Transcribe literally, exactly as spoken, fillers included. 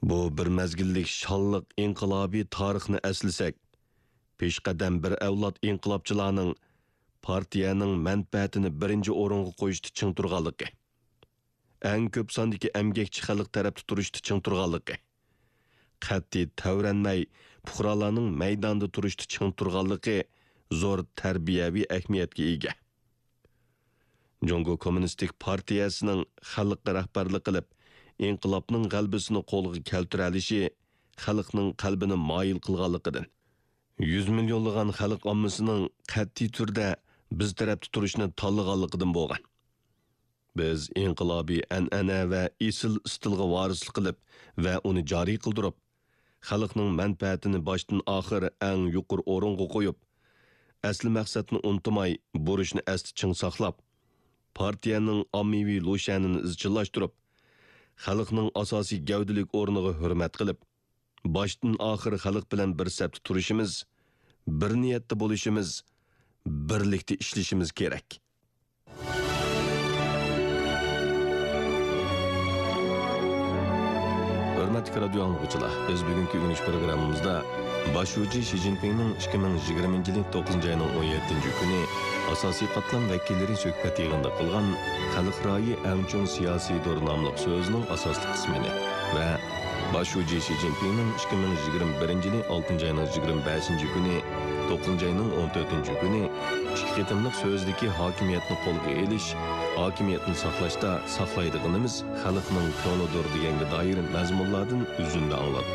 بۇ بىر مەزگىللىك شانلىق ئىنقىلابىي تارىخنى ئەسلىسەك، پېشقەدەم بىر ئەۋلاد ئىنقىلابچىلارنىڭ پارتىيەنىڭ مەنپەئەتىنى بىرىنچى ئورۇنغا قويۇشتا چىڭ تۇرغانلىقى، ئەڭ كۆپ ساندىكى ئەمگەكچى خەلق تەرەپتە تۇرۇشتا چىڭ تۇرغانلىقى، قەتئىي تەۋرەنمەي پۇقرالارنىڭ مەيداندا تۇرۇشتا چىڭ تۇرغانلىقى زور تەربىيەۋى ئەھمىيەتكە ئىگە. جۇڭگو كوممۇنىستىك پارتىيەسىنىڭ خەلققە رەھبەرلىك قىلىپ، ئىنقىلابنىڭ غەلىبىسىنى قولغا كەلتۈرەلىشى خەلقنىڭ قەلبىنى مايىل قىلغانلىقىدىن، يۈز مىليونلىغان خەلق ئاممىسىنىڭ قەتئىي تۈردە بىز تەرەپتە تۇرۇشنى تاللىغانلىقىدىن بولغان. بىز ئىنقىلابىي ئەنئەنە ۋە ئېسىل ئىستىلغا ۋارىسلىق قىلىپ ۋە ئۇنى جارى قىلدۇرۇپ، خەلقنىڭ مەنپەئەتىنى باشتىن ئاخىر ئەڭ يۇقىرى ئورۇنغا قويۇپ، ئەسلى مەقسەتنى ئۇنتۇماي، بۇرچنى ئەستە چىڭ ساقلاپ، پارتىيەنىڭ ئاممىۋى لۇشيەنىنى ئىزچىللاشتۇرۇپ، خەلقنىڭ ئاساسىي گەۋدىلىك ئورنىغا ھۆرمەت قىلىپ، باشتىن ئاخىر خەلق بىلەن بىر سەپتە تۇرۇشىمىز، بىر نىيەتتە بولۇشىمىز، بىرلىكتە ئىشلىشىمىز كېرەك. ھۆرمەتلىك رادىيو ئاڭلىغۇچىلار، بىز بۈگۈنكى ئۆگىنىش پروگراممىمىزدا باش شۇجى شى جىنپىڭنىڭ ئىككى مىڭ يىگىرمىنچى يىلى توققۇزىنچى ئاينىڭ ئون يەتتىنچى كۈنى ئاساسىي قاتلام ۋەكىللىرى سۆھبەت يىغىنىدا قىلغان خەلق رايى ئەڭ چوڭ سىياسىيدۇر ناملىق سۆزىنىڭ ئاساسلىق قىسمىنى ۋە باش شۇجى شى جىنپىڭنىڭ ئىككى مىڭ يىگىرمە بىرىنچى يىلى ئالتىنچى ئاينىڭ يىگىرمە بەشىنچى كۈنى، توققۇزىنچى ئاينىڭ ئون تۆتىنچى كۈنى ئىككى قېتىملىق سۆزىدىكى ھاكىمىيەتنى قولغا ئېلىش، ھاكىمىيەتنى ساقلاشتا ساقلايدىغىنىمىز خەلقنىڭ كۆڭلىدۇر دېگەنگە دائىر مەزمۇنلاردىن ئۈزۈندە ئاڭلاتتى.